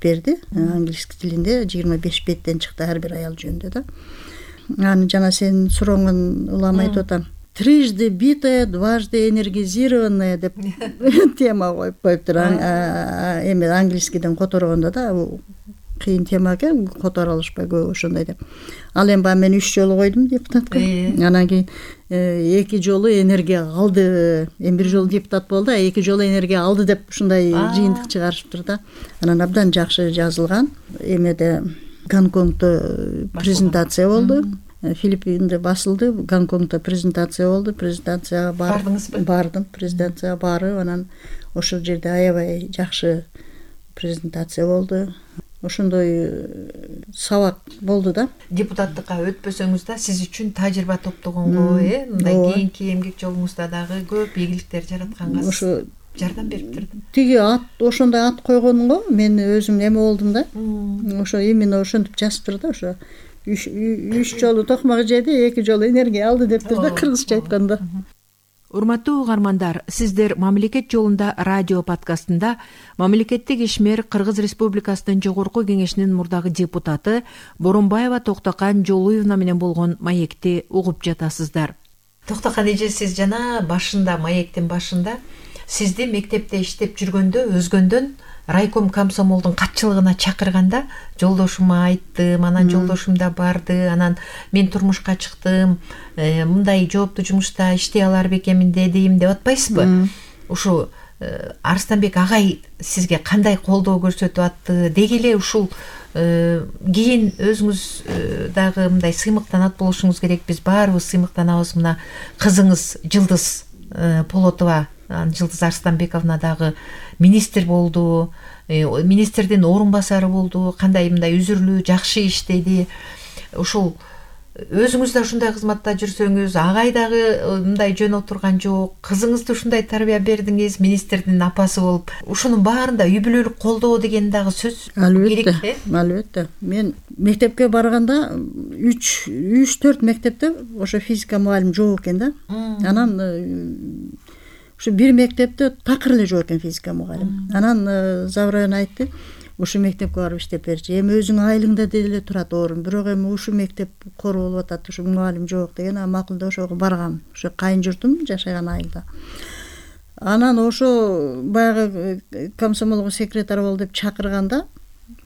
берди. Англис тилинде 25 беттен чыкты ар бир аял жөнүндө да. Аны жана сенин сурооңдун улам айтып атам. Трижды битая, дважды энергизированная деп тема коюптур. Эми англискиден которгондо да кыйын тема экен, которо алышпай көп ошондой деп. Ал эми баягы мен 3 жолу койдум депутатка. Анан кийин 2 жолу энергия алды. Эми 1 жолу депутат болду, а 2 жолу энергия алды деп ушундай жыйынтык чыгарышыптыр да. Анан абдан жакшы жазылган. Эмеде Гонконгдо презентация болду. Филиппинде басылды, Гонконгдо презентация болду. Презентацияга бардыңызбы? Бардым, презентацияга барып, анан ошол жерде аябай жакшы презентация болду. Ошондой сабак болду да. Депутаттыкка өтпөсөңүз да сиз үчүн тажрыйба топтогонго, мындай кийинки эмгек жолуңузда дагы көп ийгиликтер жаратканга ошо жардам бериптир. Тиги ошондой ат койгонго мен өзүм эме болдум да. Ошо именно ошентип жазыптыр да, ошо 3 жолу токмак жеди, 2 жолу энергия алды дептир да, кыргызча айтканда. Урматтуу угармандар, сиздер Мамлекет жолунда радио подкастында мамлекеттик ишмер Кыргыз Республикасынын Жогорку Кеңешинин мурдагы депутаты Боронбаева Токтокан Жолуевна менен болгон маекти угуп жатасыздар. Токтокан эже, сиз жана башында, маектин башында сизди мектепте иштеп жүргөндө өзгөндөн райком комсомолдун катчылыгына чакырганда жолдошума айттым, анан жолдошум да барды, анан мен турмушка чыктым, мындай жооптуу жумушта иштей алар бекемин дедим деп атпайсызбы? Ушу Арстанбек агай сизге кандай колдоо көрсөтүп атты? Деги эле ушул кийин өзүңүз дагы мындай сыймыктанат болушуңуз керек. Биз баарыбыз сыймыктанабыз. Мына кызыңыз Жылдыз Полотова, Жылдыз Арстанбековна дагы министр болду, министрдин орун басары болду, кандай мындай үзүрлүү жакшы иштеди. Ушул өзүңүз да ушундай кызматта жүрсөңүз, агай дагы мындай жөн отурган жок, кызыңызды ушундай тарбия бердиңиз, министрдин апасы болуп, ушунун баарында үй бүлөлүк колдоо деген дагы сөз керек. Албетте. Мен мектепке барганда 3-4 мектепте ошо физика мугалим жок экен да. Анан ушу бир мектепте такыр эле жок экен физика мугалим. Анан Заврайын айтты, ушу мектепке барып иштеп берчи. Эми өзүң айылыңда деле турат орун, бирок эми ушу мектеп кор болуп атат, ушу мугалим жок деген, макулда ошого баргам. Ушу кайын журтум жашаган айылда. Анан ошо баягы комсомолго секретарь бол деп чакырганда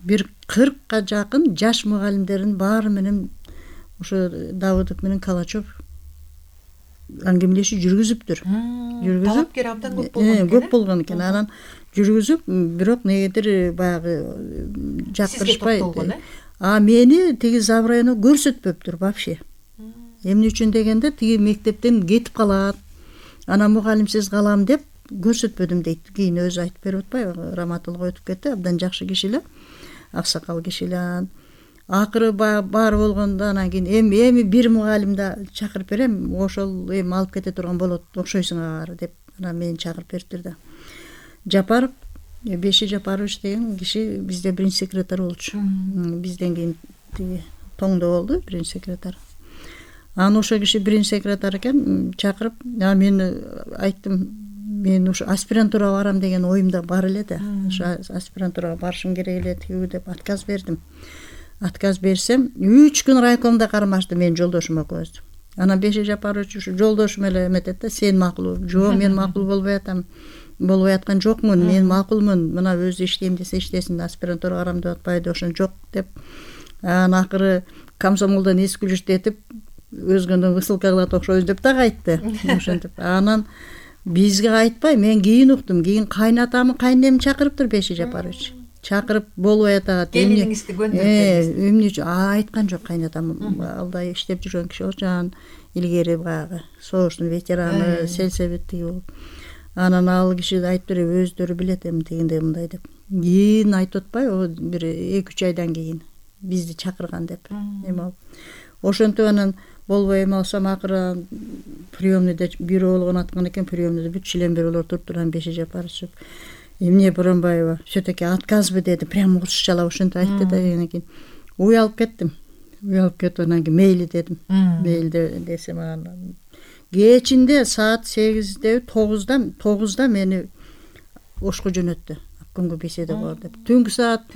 бир 40ка жакын жаш мугалимдердин баары менен ошо Давыдов менен Калачев аңгемелешүү жүргүзүптүр. Талапкер абдан көп болгон экен. Анан жүргүзүп, бирок негедир баягы жактырышпай. Мени тиги Заврайына көрсөтпөптүр вообще. Эмне үчүн дегенде, тиги мектептен кетип калат. Анан мугалимсиз калам деп көрсөтпөдүм дейт. Кийин өзү айтып берип атпайбы? Раматулга өтүп кетти, абдан жакшы киши эле, аксакал киши эле. Акыры бар болгондо анан кийин эми бир мугалим да чакырып берем, ошол эми алып кете турган болот, окшойсуң ага деп анан мени чакырып бериптир да. Жапаров, Беши Жапарович деген киши бизде биринчи секретарь болчу. Бизден кийин тиги Тоңдо болду биринчи секретарь. Анан ошол киши биринчи секретарь экен, чакырып, мен айттым, мен ушу аспирантурага барам деген оюмда бар эле да. Ошо аспирантурага барышым керек эле тигүү деп отказ бердим. Отказ берсем, 3 күн райкомдо кармашты мен жолдошум экөөбүз. Анан Беши Жапарович ушу жолдошум эле эметет да, сен макул. Жок, мен макул болбой аткан жокмун, мен макулмун. Мына өзү иштейм десе иштесин, аспирантурага барам деп атпайды, ошон жок деп. Анан акыры комсомолдон эс күлүштетип, өзгөндөн высылка кылат окшойбуз деп дагы айтты. Ошентип. Анан бизге айтпай, мен кийин уктум. Кийин кайнатамы, кайнемин чакырыптыр Беши Жапарович. Чакырып болбой атат. Келиниңизди көндүрүп эмне үчүн айткан жок кайнатам. Алда иштеп жүргөн киши болчу, илгери баягы согуштун ветераны, сельсоветтеги болуп. Анан ал киши айтып берип, өздөрү билет эми тигиндей мындай деп. Кийин айтып атпайбы, бир 2-3 айдан кийин бизди чакырган деп. Эми ошентип анан болбой эме алсам, акыры приемныйда бирөө болгон аткан экен, приемныйда бүт член-бирөөлөр туруп Беши Жапарович эмне Боронбаева, все-таки отказбы деди, прямо орусчалап ошентип айтты да. Анан кийин уялып кеттим. Уялып кетип анан кийин мейли дедим. Мейлде десем, анан кечинде саат 8-де 9-да мени Ошко жөнөттү. Аккүнгү беседа бар деп. Түнкү саат